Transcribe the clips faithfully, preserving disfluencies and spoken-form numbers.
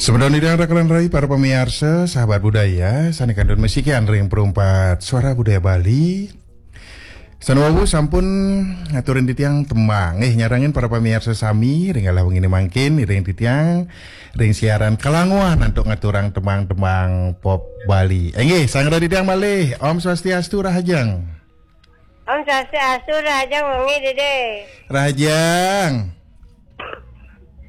Semeton titiang raka lan rai para pamiarsa, sahabat budaya, sané kantun masikian ring Perumpat Suara Budaya Bali. Sané wau sampun ngaturin titiang tembang. Eh, nyarengin para pamiarsa sami, ring galah wenginé mangkin, iring titiang, ring siaran kalanguan antuk ngaturang tembang-tembang pop Bali. Inggih, sareng titiang malih, Om Swastiastu, rahajeng. Om Swastiastu, rahajeng wengi, Dédé. Rahajeng.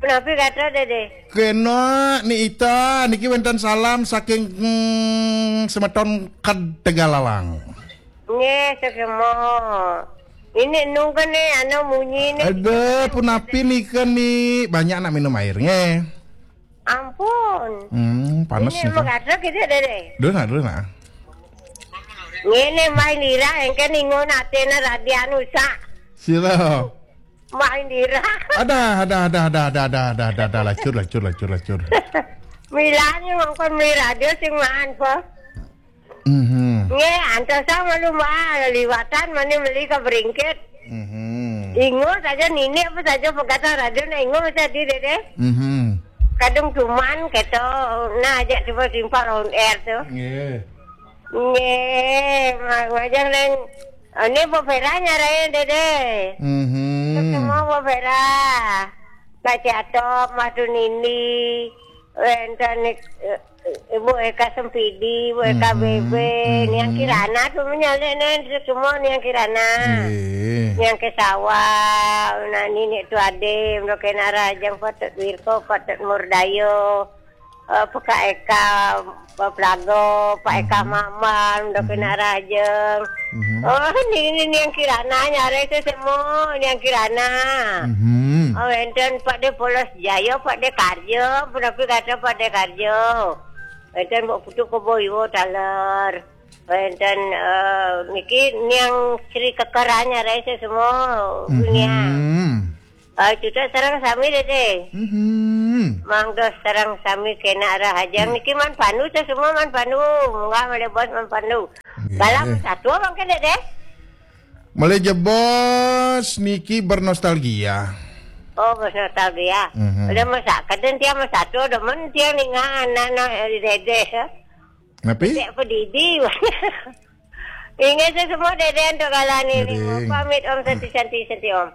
Punapi gatra, Dédé? Kéné, Ni Ita, niki wénten salam saking, mm, semeton Ked Tegalalang. Nggih, suksma. Ini nungkene anu munyi nih. Aduh, punapi nika nih? Banyak nak minum air, nggih. Ampun. Hmm, panas ini nih. Emang gatra gitu, Dédé? Duh, nah, duh, nah. Ngene, Mbah Indira, engke ningun atene radian usak. Sira. Mbah Indira. Ada, ada, ada, ada, ada, ada, ada, ada, ada, lacur, lacur, lacur, lacur. Milane ngongkon meli radio sing maan, Po. Mhm. Nggih, antosa malu, Mbah, liwatan mani meli ka Bringkit. Mhm. Ingus aja nini apa saja pegatan radio na ingus aja di, Dédé. Mhm. Kadung cuman keto, nah, aja coba simpang on air tuh. Nggih. Nggih, ma-, majang nang, ini Bu Vera nyarain, Dédé. Mhm. Semua Bu Vera. Mbak Ciatok, Mbak Tunini, wénten, eh, Ibu Eka Sempidi, Ibu Eka Mhm, B B, mhm. Niang Kirana, semua nyalek, nen, semua Niang Kirana. Nggih. Niang Kesawa, nah, Ninik Tuade, Mdo Kena Rajang, Patut Wirko, Patut Murdayo. Eh, Pak Eka, Pak Plago, Pak Eka Mhm. Maman, Mdo Kena Mhm. Rajeng. Mhm. Oh, ini, ini Niang Kirana, nyare sesemo, Niang Kirana. Mhm. Oh, wénten Pak De Polos Jaya, Pak De Karya, punapi kata Pak De Karya. Wénten Mbok Putu Kebo Iwo taler. Wénten, eh, niki Niang Sri Kekeran, nyare sesemo, Niang. Mhm. Ah, cucuk sareng sami, Dédé. Mhm. Mangga sareng sami kena rahajeng. Niki Man Pandu, sesemo Man Pandu. Munggah malih bos Man Pandu. Nggih. Galah Man Satwa mangke, Dédé? Malih jebos niki bernostalgia. Oh, bernostalgia. Mhm. Udah masak, kadén tiang Man Satwa, demen tiang ningal anak-anak Dédé, ya. Napi? Cek pedidi. Inggih, sesemo Dédé antuk galane nih. Ngiring. Pamit, Om, santi, santi, santi, Om.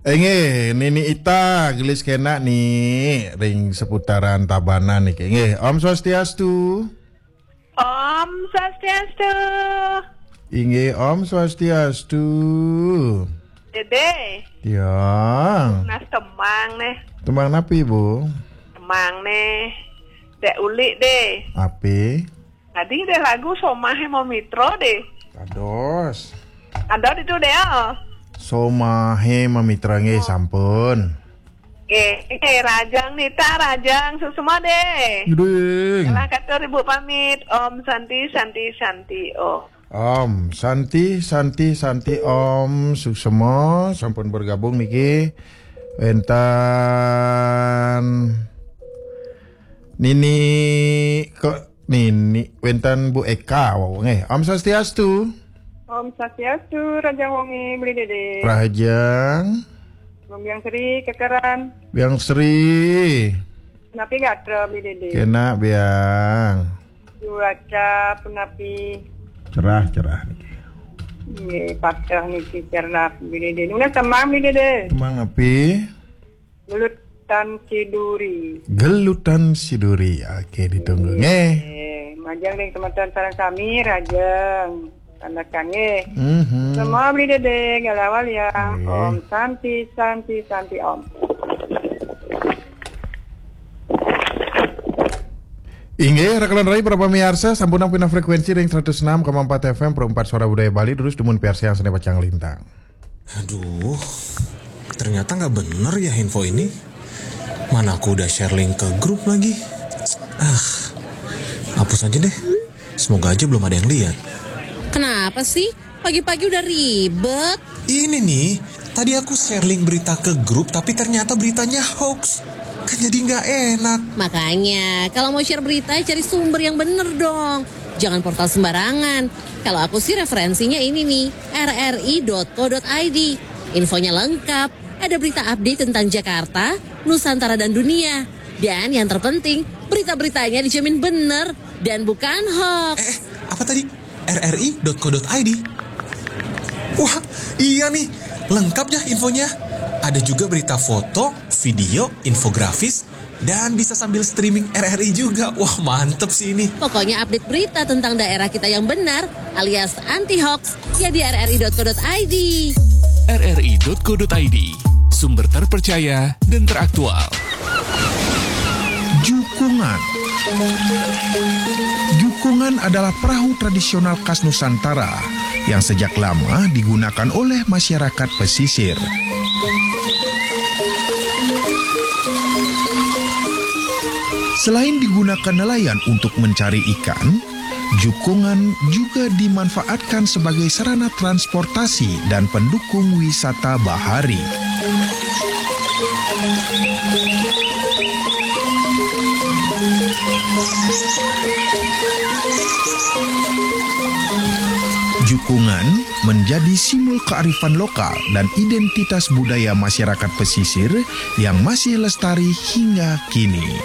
Inggih, Nini Ita, gelis kena nih, ring seputaran Tabanan niki. Inggih, Om Swastiastu. Om Swastiastu. Inggih, Om Swastiastu. Dédé. Tiang. Nas tembang nih. Tembang napi, Bu? Tembang nih. Dek ulik deh. Api? Tadi deh lagu Somahe Mamitra deh. Kados. Ada itu deh, oh. Somahe Mamitra nggih, oh, sampun. Nggih, eh, Rajang Nita, Rajang Susuma deh. Ngiring. Lah, katur Ibu pamit. Om Santi, Santi, Santi, Om. Om Santi, Santi, Santi, Om Suksema sampun bergabung niki. Wénten Nini, kok Nini, wénten Bu Eka, wau nggih. Om Swastiastu. Om Swastiastu, Rajang Wengi, Beli Dede. Rahajeng. Biang Sri, Kekeran. Biang Sri. Napi gatra, Beli Dede? Kena, Biang. Cuaca punapi? Cerah, cerah niki. Nggih, pateh niki cerah, Beli Dede. Nunas tembang, Beli Dede. Tembang napi? Gelutan Siduri. Gelutan Siduri. Oke, ditunggu nggih. Nggih, majeng ring teman-teman sareng sami, Rajeng. Tanda kanggih. Mhm. Semua Beli Dede, galah waliang. Nggih. Om Santi, Santi, Santi, Om. Inggih, raka lan rai para pamiarsa, sampun pindah frekuensi ring seratus enam koma empat F M, Perumpat Suara Budaya Bali, terus dumun piarsayang sané pacang lintang. Aduh, ternyata nggak bener ya info ini. Mana aku udah share link ke grup lagi. Ah, hapus aja deh. Semoga aja belum ada yang lihat. Kenapa sih? Pagi-pagi udah ribet. Ini nih, tadi aku share link berita ke grup, tapi ternyata beritanya hoax. Kan jadi nggak enak. Makanya, kalau mau share berita, cari sumber yang bener dong. Jangan portal sembarangan. Kalau aku sih referensinya ini nih, R R I dot co dot I D. Infonya lengkap, ada berita update tentang Jakarta, Nusantara dan dunia. Dan yang terpenting, berita-beritanya dijamin benar dan bukan hoax. Eh, apa tadi? R R I dot co dot I D. Wah, iya nih, lengkap ya infonya. Ada juga berita foto, video, infografis, dan bisa sambil streaming R R I juga. Wah, mantep sih ini. Pokoknya update berita tentang daerah kita yang benar alias anti hoax ya di R R I dot co dot I D. R R I dot co dot I D, sumber terpercaya dan teraktual. Jukungan. Jukungan adalah perahu tradisional khas Nusantara yang sejak lama digunakan oleh masyarakat pesisir. Selain digunakan nelayan untuk mencari ikan, jukungan juga dimanfaatkan sebagai sarana transportasi dan pendukung wisata bahari. Jukungan menjadi simbol kearifan lokal dan identitas budaya masyarakat pesisir yang masih lestari hingga kini.